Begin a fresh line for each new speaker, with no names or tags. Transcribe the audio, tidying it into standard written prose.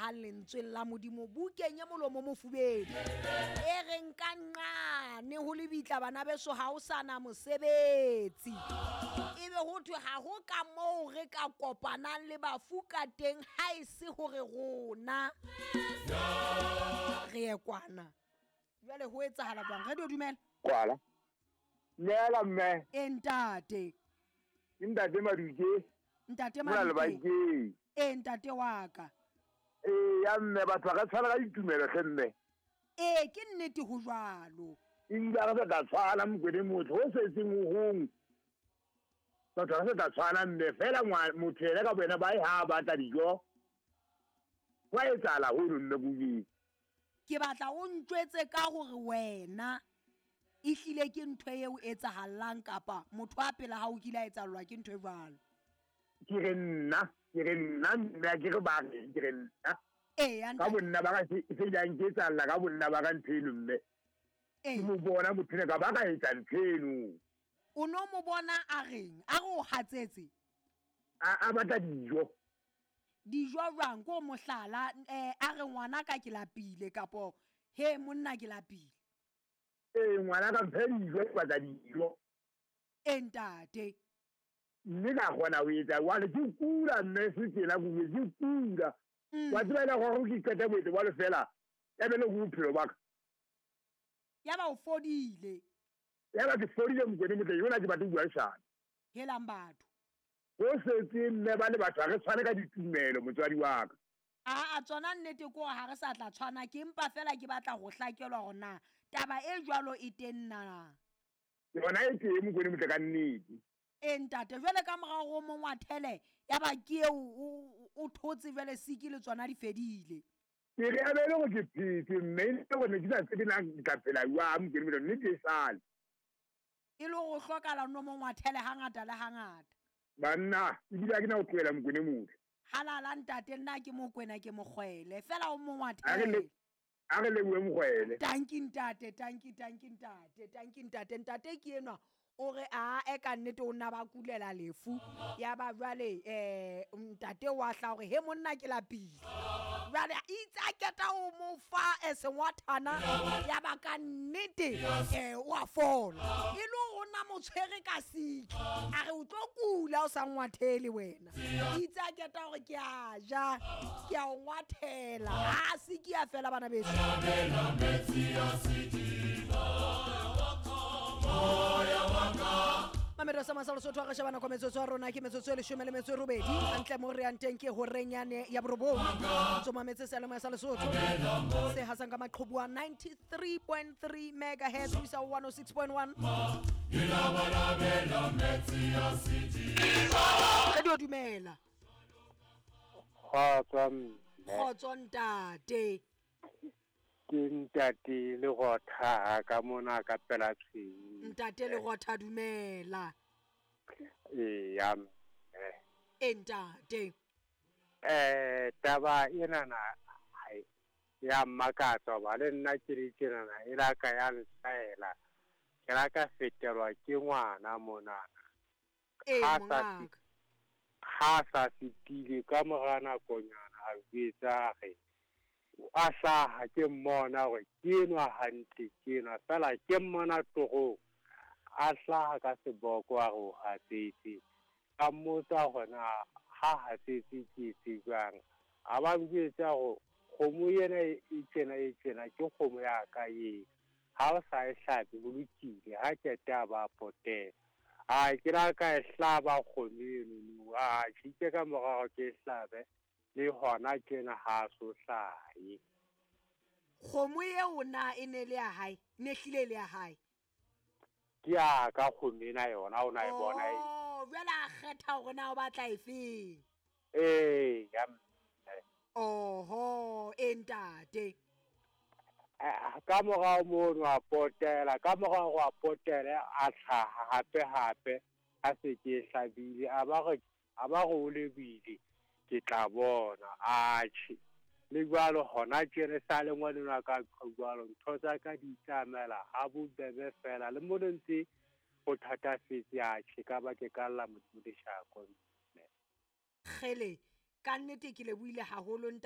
hlahang lentsweng la Modimo bukeng ya molomo mofubedu e reng ka nqane ho lebitla bana beso ha o sa na mosebetsi. Ebe ho thwe ha ho ka moo re ka kopanang le bafu ka teng ha e se hore rona re ye kwana. Jwale ho etsahala jwang? Radio dumela.
Kwala. Neela mme.
E ntate.
Ke ntate Maduke.
Ntate
Mona
Maduke.
lebakeng.
E ntate wa ka.
Ee ya mme batho ba ka tshwana ka ditumelo hle mme.
Ee ke nnete ho jwalo.
Ebile ha re sa tla tshwana Mokwene motho ho setseng ho hong. Batho ha re sa tla tshwana mme fela motho yena ka boyena ba e ha batla dijo. Hwa etsahala hono mme kojeno.
Ke batla o ntjwetse ka hore wena ehlile ke ntho eo etsahalang kapa motho a pela ha o kile a etsahallwa ke ntho e jwalo.
Ke re nna mme ha ke re ba reng, ke re nna.
Ee,
Ka bonna ba ka se jang ke etsahalla ka bonna ba ka ntho eno mme.
Ee.
Ke mo bona motho ena ka ba ka etsa ntho eno.
O no mo bona a reng? A re o hatsetse?
A batla dijo.
Dijo jwang? Ko mohlala, a re ngwana ka ke lapile kapo he monna ke lapile.
Ee, ngwana ka mphe dijo, ke batla dijo.
E ntate.
Mme ka kgona ho etsa jwale ke kula mme se tjena ke ke kula. Wa tseba ena gore ke qete boetse jwalo fela, ya be le ho bophelo ba ka.
Ya ba o fodile.
Ya ba ke fodile Mokwene motle, yona ke batle ho bua leshano.
Helang batho.
Ho setse mme ba le batho ha re tshwane ka ditumelo motswadi wa ka.
A tsona nnete ke hore ha re sa tla tshwana, ke empa fela ke batla ho hlakelwa hore na taba e jwalo e teng na.
Yona e teng Mokwene motle ka nnete.
E ntate, jwale ka morao ho mongwathele ya ba ke eo o thotse jwale siki le tsona di fedile.
Ke re a be le hore ke phetse mme e le hore ne ke sa tsebe na ke tla phela jwang Mokwene motle, nnete e sale.
E le hore o hlokahala no mongwathele hangata le hangata.
Banna, ebile ha ke na ho tlohela Mokwene motle.
Halala ntate, nna ke Mokwena ke mokgwele, fela o mongwathele.
A re lebohe mokgwele.
Tanki ntate, tanki, tanki ntate, tanki ntate, ntate ke enwa. O re a e ka nnete o nna ba kulela lefu. Ya ba jwale ntate wa hla hore he monna ke lapile. Jwale itse a keta ho mo fa sengwathana ya ba ka nnete o a fola. E le hore o na mo tshwere ka siki. A re o tlo kula o sa ngwathele wena. Itse a keta hore ke a ja, ke a o ngwathela. A siki ya fela bana beso. Mamelo sa masalo sotho a re shebana kwa metsotso ya rona ke metsotso e leshome le metso e robedi. Hantle mo re yang teng ke horeng yane ya borobong. Ntso mametse seyalemoya sa Lesotho se hasang ka maqhubu a 93.3 megahertz ho isa ho 106.1. Radio dumela.
Kgotso mme.
Kgotso ntate.
Ke ntate le gotha ka mona ka pela tshweu.
Ntate le gotha dumela.
Ee ya mme.
E ntate.
Taba ena na ya mmakatsa ba le nna ke re tjenana e la ka ya nhlaela. Ke la ka fetelwa ke ngwana monana.
Ee mongaka.
Ha sa fetile ka mora nakonyana a jwetsa re a hlaha ke mmona hore ke enwa hantle ke enwa fela ke mmona torong a hlaha ka seboko a re o hatsetse. Ka mmotsa hore na ha hatsetse ke etse jwang. A ba njwetsa hore kgomo ena e tjena e tjena ke kgomo ya ka e. Ha o sa e hlabe ho lokile ha qeta ba potela. A ke la ka e hlaba kgomo eno a tjhitse ka morao ke e hlabe. Le hona tjena ha so hlahe.
Kgomo eo na e ne le ya hae, ne hlile le ya hae.
Ke ya ka kgomo ena yona o na e bona e.
Oh, jwale a kgetha hore na o batla efeng.
Ee, ya mme.
Oho, e ntate.
Ka morao mono a potela, ka morao a potela a hlaha hape hape a se ke hlabile a ba re o lebile. Ke tla bona atjhe le jwalo hona tjena sa le ngwanenwa ka jwalo ntho tsa ka di tsamela ha bobebe fela le mo ntse ho thatafetse atjhe ka ba ke ka lla Modimo leshako.
Kgele ka nnete ke lebohile haholo ntate.